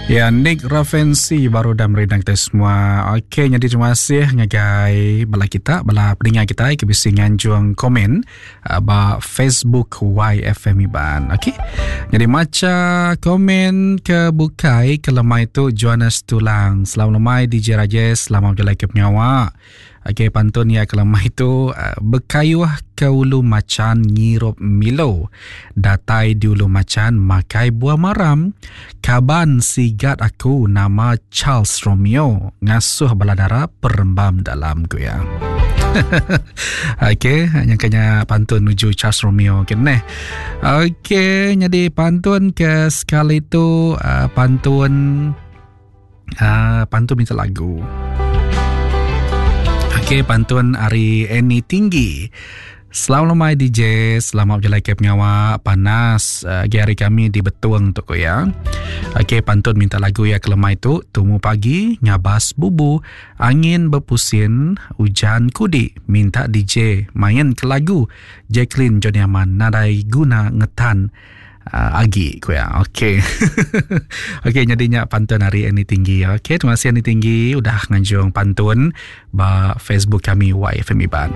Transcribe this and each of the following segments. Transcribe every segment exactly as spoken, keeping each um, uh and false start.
Ya, Nick Ravensi baru dah merindang kita semua. Okey, jadi terima kasih ngagai bala kita, bala peninga kita ke bisi nganjung komen uh, ba Facebook Y F M Iban. Okey. Jadi maca komen ke bukai ke lemai tu Johannes Tulang. Selamat lemai D J Rajesh, selamat berjalan ke pengawa. Okey, pantun ya ke lemai tu uh, bekayuh ke ulu macan ngirup Milo. Datai di ulu macan makai buah maram. Kaban sigat aku nama Charles Romeo ngasuh baladara perembam dalam ku ya. Okey, nyangkanya pantun nuju Charles Romeo ke neh. Okey, jadi pantun ke sekali tu uh, pantun uh, pantun minta lagu. Okey, pantun ari Eni Tinggi. Selamat lemai D J, selamat berjalan ke pengawa panas uh, hari kami di Betuang tu ko ya. Okey, pantun minta lagu ya ke lemai tu, tumu pagi ngabas bubu, angin berpusin, hujan kudi, minta D J main ke lagu Jacqueline Johnny Aman nadai guna ngetan uh, agi ko ya. Okey. Okey, jadinya pantun hari ini tinggi. Okey, terima kasih Ani Tinggi udah nganjung pantun ba Facebook kami Y F M Iban.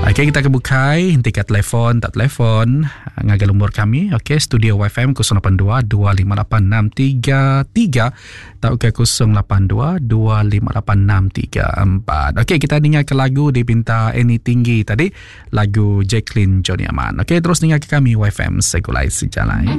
Okey, kita kebukai henti kat telefon, tak telefon ngagal umur kami. Okey, studio Y F M kosong lapan dua dua lima lapan enam tiga tiga atau ke kosong lapan dua dua lima lapan enam tiga empat. Okey, kita dengar ke lagu dipinta Eni Tinggi tadi, lagu Jacqueline Johnny Aman. Okey, terus dengar ke kami Y F M Segulai Sejalai.